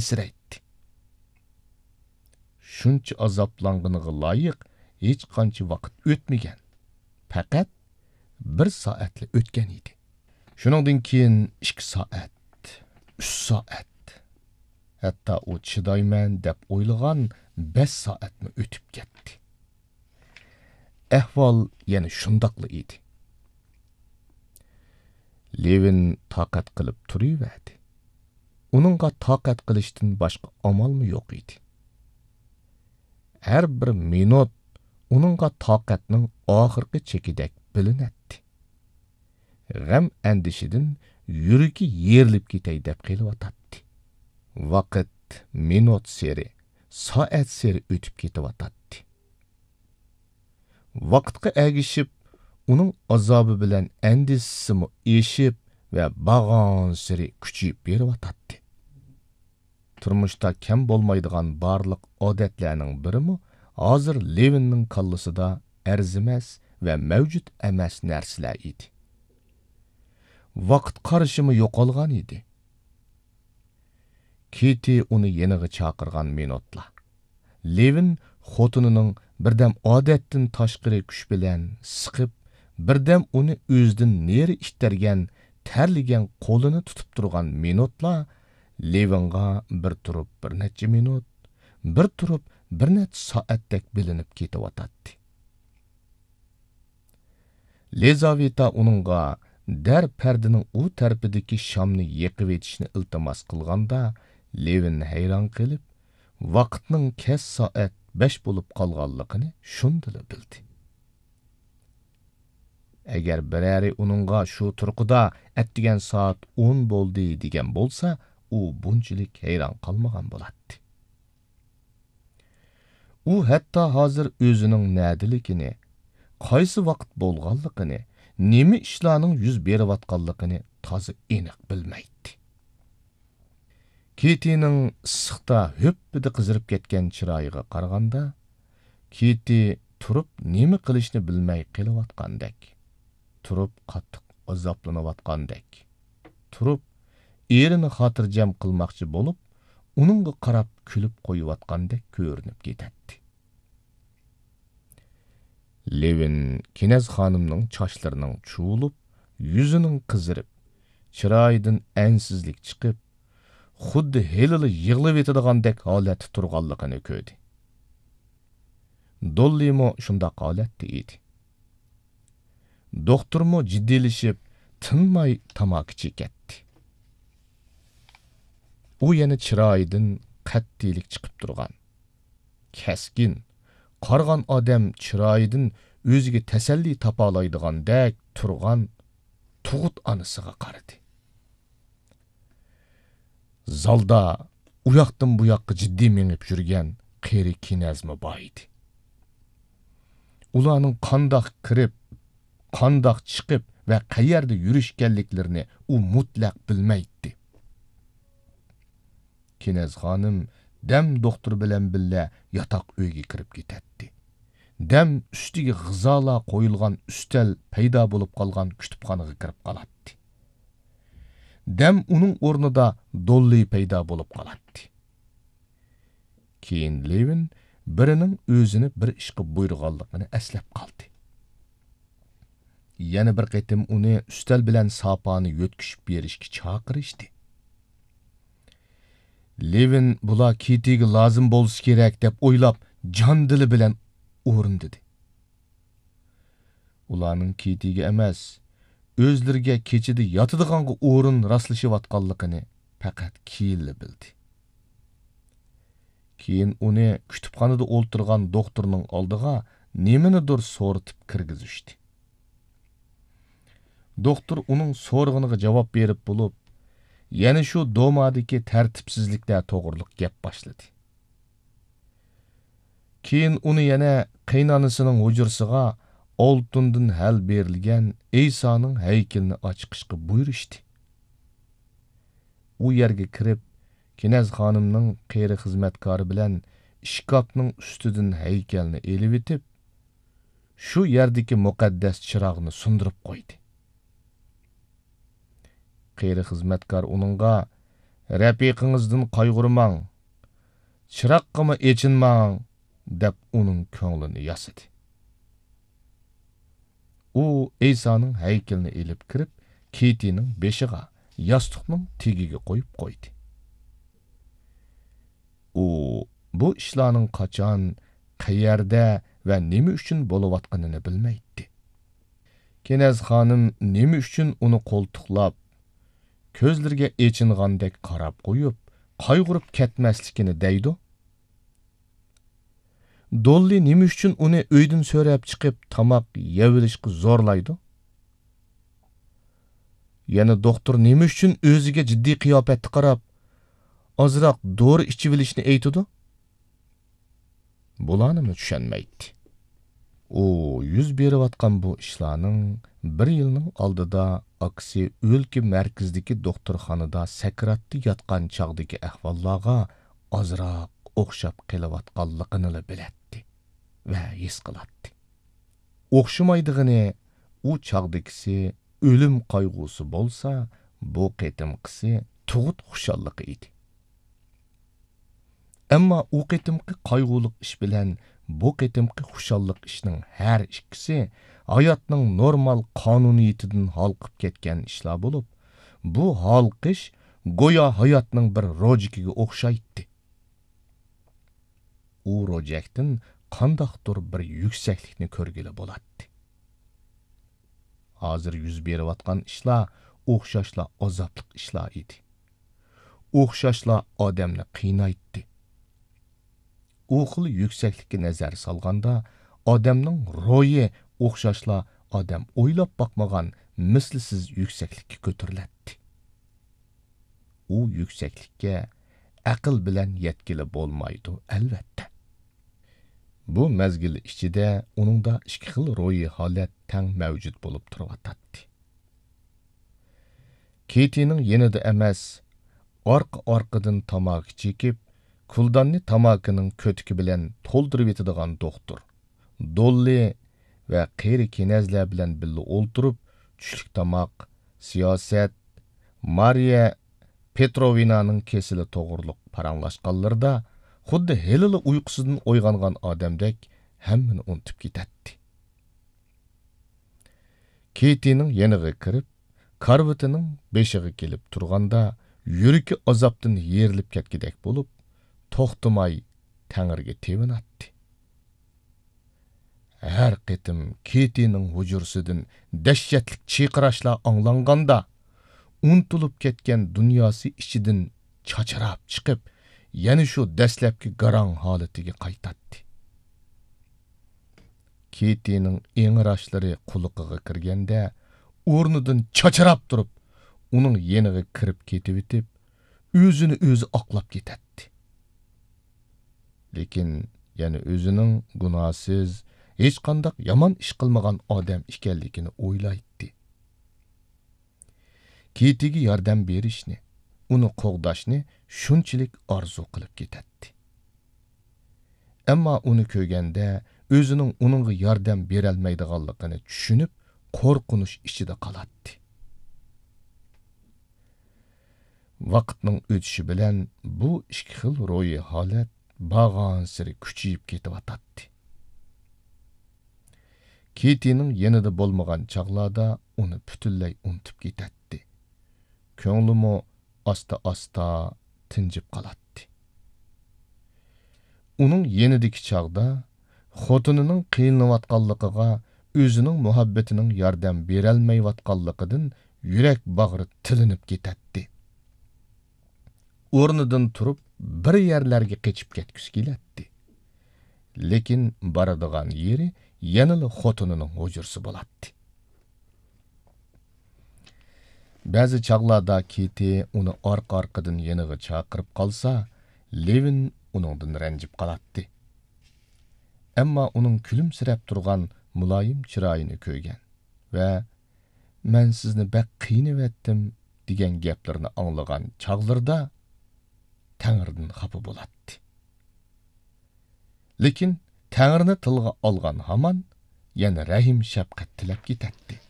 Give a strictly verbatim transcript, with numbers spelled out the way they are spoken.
ئەنسىرەيتتى. شۇنچە ئازابلانغىنىغا لايىق ھېچقانچە ۋاقىت ئۆتمىگەن. پەقەت بىر سائەتلا ئۆتكەن ئىدى. شۇنىڭدىن كېيىن ئىككى سائەت، ئۈچ سائەت، ھەتتا ئۇ چىدايمەن دەپ ئويلىغان بەش سائەتمۇ ئۆتۈپ كەتتى. ئەھۋال يەنە شۇنداقلا ئىدى. لېۋىن تاقەت قىلىپ تۇرۇۋەردى. ئۇنىڭغا تاقەت قىلىشتىن باشقا ئامالمۇ يوق ئىدى. ھەر بىر مىنۇت ئۇنىڭغا تاقەتنىڭ ئاخىرقى چېكىدەك بىلىنەتتى. غەم-ئەندىشىدىن يۈرىكى يېرىلىپ كېتەي دەپ قېلىۋاتاتتى. ۋاقىت مىنۇتسېرى، سائەتسېرى ئۆتۈپ كېتىۋاتاتتى. ۋاقىتقا ئەگىشىپ، ئۇنىڭ ئازابى بىلەن ئەندىشىسىمۇ ئېشىپ ۋە بارغانسېرى كۈچىيىپ بېرىۋاتاتتى. تۇرمۇشتا كەم بولمايدىغان بارلىق ئادەتلەرنىڭ بىرىمۇ ھازىر لېۋىننىڭ كاللىسىدا ئەرزىمەس ۋە مەۋجۇت ئەمەس نەرسىلەر ئىدى. ۋاقىت قارىشىمۇ يوقالغان ئىدى. كېتى ئۇنى يېنىغا چاقىرغان مىنۇتلا، لېۋىن خوتۇنىنىڭ بىردەم ئادەتتىن تاشقىرى كۈچ بىلەن سىقىپ، بىردەم ئۇنى ئۆزىدىن نېرى ئىتتەرگەن تەرلىگەن قولىنى تۇتۇپ تۇرغان مىنۇتلا لېۋىنغا بىر تۇرۇپ بىر نەچچە مىنۇت، بىر تۇرۇپ بىر نەچچە سائەتتەك بىلىنىپ كېتىۋاتاتتى. لىزاۋېتا ئۇنىڭغا دەر پەردىنىڭ ئۇ تەرىپىدىكى شامنى يېقىۋېتىشنى ئىلتىماس قىلغاندا، لېۋىن ھەيران قېلىپ، ۋاقىتنىڭ كەچ سائەت بەش بولۇپ قالغانلىقىنى شۇندىلا بىلدى. ئەگەر بىرەرى ئۇنىڭغا شۇ تۇرقىدا ئەتىگەن سائەت ئون بولدى دېگەن بولسا، ئۇ بۇنچىلىك ھەيران قالمىغان بولاتتى. ئۇ ھەتتا ھازىر ئۆزىنىڭ نەدىلىكىنى، قايسى ۋاقىت بولغانلىقىنى، نېمە ئىشلارنىڭ يۈز بېرىۋاتقانلىقىنى تازا ئېنىق بىلمەيتتى. كېتىنىڭ ئىسسىقتا ھۆپپىدە قىزىرىپ كەتكەن چىرايىغا قارىغاندا، كېتى تۇرۇپ نېمە قىلىشنى بىلمەي قېلىۋاتقاندەك، تۇرۇپ قاتتىق ئازابلىنىۋاتقاندەك، تۇرۇپ ئېرىنى خاتىرجەم قىلماقچى بولۇپ، ئۇنىڭغا قاراپ كۈلۈپ قويۇۋاتقاندەك كۆرۈنۈپ كېتەتتى. لېۋىن كېنەز خانىمنىڭ چاچلىرىنىڭ چۇۋۇلۇپ، يۈزىنىڭ قىزىرىپ، چىرايىدىن ئەنسىزلىك چىقىپ، خۇددى ھېلىلا يىغلىۋېتىدىغاندەك ھالەتتە تۇرغانلىقىنى كۆردى. دوللىمۇ شۇنداق ھالەتتە ئىدى. دوختۇرمۇ جىددىيلىشىپ، تىنماي تاماكا چېكەتتى. ئۇ يەنە چىرايىدىن قەتئىيلىك چىقىپ تۇرغان، كەسكىن، قارىغان ئادەم چىرايىدىن ئۆزىگە تەسەللى تاپالايدىغاندەك تۇرغان تۇغۇت ئانىسىغا قارىدى. زالدا ئۇياقتىن بۇياققا جىددىي مېڭىپ يۈرگەن قېرى كېنەزمۇ بار ئىدى. ئۇلارنىڭ قانداق كىرىپ، قانداق چىقىپ ۋە قەيەردە يۈرۈشكەنلىكلىرىنى ئۇ مۇتلەق بىلمەيتتى. كېنەز خانىم دەم دوختۇر بىلەن بىللە ياتاق ئۆيگە كىرىپ كېتەتتى. دەم ئۈستىگە غىزالار قويۇلغان ئۈستەل پەيدا بولۇپ قالغان كۇتۇپخانىغا كىرىپ قالاتتى. دەم ئۇنىڭ ئورنىدا دوللى پەيدا بولۇپ قالاتتى. كېيىن لېۋىن بىرىنىڭ ئۆزىنى بىر ئىشقا بۇيرۇغانلىقىنى ئەسلەپ قالدى. يەنە بىر قېتىم ئۇنى ئۈستەل بىلەن ساپانى يۆتكىشىپ بېرىشكە چاقىرىشتى. لېۋىن بۇلار كېتىگە لازىم بولسا كېرەك دەپ ئويلاپ، جان دىلى بىلەن ئورۇندىدى. ئۇلارنىڭ كېتىگە ئەمەس، ئۆزلىرىگە كېچىدە ياتىدىغانغا ئورۇن راسلىشىۋاتقانلىقىنى پەقەت كېيىنلا بىلدى. كېيىن ئۇنى كۇتۇپخانىدا ئولتۇرغان دوختۇرنىڭ ئالدىغا نېمىنىدۇر سورىتىپ كىرگۈزۈشتى. دوختۇر ئۇنىڭ سورىغىنىغا جاۋاب بېرىپ بولۇپ، يەنە شۇ دومادىكى تەرتىپسىزلىكلەر توغرۇلۇق گەپ باشلىدى. كېيىن ئۇنى يەنە قېيىنئانىسىنىڭ ھۇجرىسىغا ئالتۇندىن ھەل بېرىلگەن ئەيسانىڭ ھەيكىلىنى ئاچىقىشقا بۇيرۇشتى. ئۇ يەرگە كىرىپ، كېنەز خانىمنىڭ قېرى خىزمەتكارى بىلەن ئىشكاپنىڭ ئۈستىدىن ھەيكەلنى ئېلىۋېتىپ، شۇ يەردىكى مۇقەددەس چىراغنى سۇندۇرۇپ قويدى. قېرى خىزمەتكار ئۇنىڭغا، «رەپىقىڭىزدىن قايغۇرماڭ، چىراغقىمۇ ئېچىنماڭ» دەپ ئۇنىڭ كۆڭلىنى ياسىدى. ئۇ ئەيسانىڭ ھەيكىلىنى ئېلىپ كىرىپ، كېتىنىڭ بېشىغا، ياستۇقنىڭ تېگىگە قويۇپ قويدى. ئۇ بۇ ئىشلارنىڭ قاچان، قەيەردە ۋە نېمە ئۈچۈن بولۇۋاتقىنىنى بىلمەيتتى. كېنەز خانىم نېمە ئۈچۈن ئۇنى قولتۇقلاپ، كۆزلىرىگە ئېچىنغاندەك قاراپ قويۇپ، قايغۇرۇپ كەتمەسلىكىنى دەيدۇ؟ دوللى نېمە ئۈچۈن ئۇنى ئۆيدىن سۆرەپ چىقىپ، تاماق يەۋېلىشقا زورلايدۇ؟ يەنە دوختۇر نېمە ئۈچۈن ئۆزىگە جىددىي قىياپەتتە قاراپ، ئازراق دورا ئىچىۋېلىشنى ئېيتىدۇ؟ بۇلارنىمۇ چۈشەنمەيتتى. ئۇ يۈز بېرىۋاتقان بۇ ئىشلارنىڭ بىر يىلنىڭ ئالدىدا ئاكىسى ئۆلكە مەركىزىدىكى دوختۇرخانىدا سەكراتتا ياتقان چاغدىكى ئەھۋاللارغا ئازراق ئوخشاپ قېلىۋاتقانلىقىنىلا بىلەتتى ۋە ھېس قىلاتتى. ئوخشىمايدىغىنى، ئۇ چاغدىكىسى ئۆلۈم قايغۇسى بولسا، بۇ قېتىمقىسى تۇغۇت خۇشاللىقى ئىدى. ئەمما ئۇ قېتىمقى قايغۇلۇق ئىش بىلەن بۇ قېتىمقى خۇشاللىق ئىشنىڭ ھەر ئىككىسى ھاياتنىڭ نورمال قانۇنىيىتىدىن ھالقىپ كەتكەن ئىشلار بولۇپ، بۇ ھالقىش گويا ھاياتنىڭ بىر روجىكىگە ئوخشايتتى. ئۇ روجەكتىن قانداقتۇر بىر يۈكسەكلىكنى كۆرگىلى بولاتتى. ھازىر يۈز بېرىۋاتقان ئىشلار ئوخشاشلا ئازابلىق ئىشلار ئىدى. ئوخشاشلا ئادەمنى قىينايتتى. ئۇ خىل يۈكسەكلىككە نەزەر سالغاندا، ئادەمنىڭ روھى ئوخشاشلا ئادەم ئويلاپ باقمىغان مىسلىسىز يۈكسەكلىككە كۆتۈرۈلەتتى. ئۇ يۈكسەكلىككە ئەقىل بىلەن يەتكىلى بولمايدۇ، ئەلۋەتتە. بۇ مەزگىل ئىچىدە ئۇنىڭدا ئىككى خىل روھىي ھالەت تەڭ مەۋجۇت بولۇپ تۇرۇۋاتاتتى. كېتىنىڭ يېنىدا ئەمەس، ئارقا-ئارقىدىن تاماكا چېكىپ، كۇلداننى تاماكىنىڭ كۆتۈكى بىلەن تولدۇرۇۋېتىدىغان دوختۇر دوللى ۋە قېرى كېنەزلەر بىلەن بىللە ئولتۇرۇپ، چۈشلۈك تاماق، سىياسەت، مارىيە پېتروۋنانىڭ كېسىلى توغرۇلۇق پاراڭلاشقانلىرىدا، خۇددى ھېلىلا ئۇيقۇسىدىن ئويغانغان ئادەمدەك ھەممىنى ئۇنتۇپ كېتەتتى. كېتىنىڭ يېنىغا كىرىپ، كارىۋىتىنىڭ بېشىغا كېلىپ تۇرغاندا، يۈرىكى ئازابتىن يېرىلىپ كەتكۈدەك بولۇپ، توختىماي تەڭرىگە تېۋىناتتى. ھەر قېتىم كېتىنىڭ ھۇجرىسىدىن دەھشەتلىك چىرقىراشلار ئاڭلانغاندا، ئۇنتۇلۇپ كەتكەن دۇنياسى ئىچىدىن چاچراپ چىقىپ، يەنە شۇ دەسلەپكى گاراڭ ھالىتىگە قايتاتتى. كېتىنىڭ ئىڭراشلىرى قۇلىقىغا كىرگەندە، ئورنىدىن چاچراپ تۇرۇپ، ئۇنىڭ يېنىغا كىرىپ كېتىۋېتىپ، ئۆزىنى ئۆزى ئاقلاپ كېتەتتى. لېكىن يەنە ئۆزىنىڭ گۇناھسىز، ھېچقانداق يامان ئىش قىلمىغان ئادەم ئىكەنلىكىنى ئويلايتتى. كېتىگە ياردەم بېرىشنى، ئۇنى قوغداشنى شۇنچىلىك ئارزۇ قىلىپ كېتەتتى. ئەمما ئۇنى كۆرگەندە، ئۆزىنىڭ ئۇنىڭغا ياردەم بېرەلمەيدىغانلىقىنى چۈشىنىپ، قورقۇنچ ئىچىدە قالاتتى. ۋاقىتنىڭ ئۆتۈشى بىلەن بۇ ئىككى خىل روھىي ھالەت بارغانسېرى كۈچىيىپ كېتىۋاتاتتى. كېتىنىڭ يېنىدا بولمىغان چاغلاردا ئۇنى پۈتۈنلەي ئۇنتۇپ كېتەتتى. كۆڭلىمۇ ئاستا-ئاستا تىنجىپ قالاتتى. ئۇنىڭ يېنىدىكى چاغدا خوتۇنىنىڭ قىينىلىۋاتقانلىقىغا، ئۆزىنىڭ مۇھەببىتىنىڭ ياردەم بېرەلمەيۋاتقانلىقىدىن يۈرەك باغرى تىلىنىپ كېتەتتى. ئورنىدىن تۇرۇپ، بىر يەرلەرگە قېچىپ كەتكۈسى كېلەتتى. لېكىن بارىدىغان يېرى يەنىلا خوتۇنىنىڭ ھۇجرىسى بولاتتى. بەزى چاغلاردا كېتى ئۇنى ئارقا-ئارقىدىن يېنىغا چاقىرىپ قالسا، لېۋىن ئۇنىڭدىن رەنجىپ قالاتتى. ئەمما ئۇنىڭ كۈلۈمسىرەپ تۇرغان مۇلايىم چىرايىنى كۆرگەن ۋە «مەن سىزنى بەك قىينىۋەتتىم» دېگەن گەپلىرىنى ئاڭلىغان چاغلىرىدا تەڭرىدىن خاپا بولاتتى. لېكىن تەڭرىنى تىلغا ئالغان ھامان يەنە رەھىم-شەپقەت تىلەپ كېتەتتى.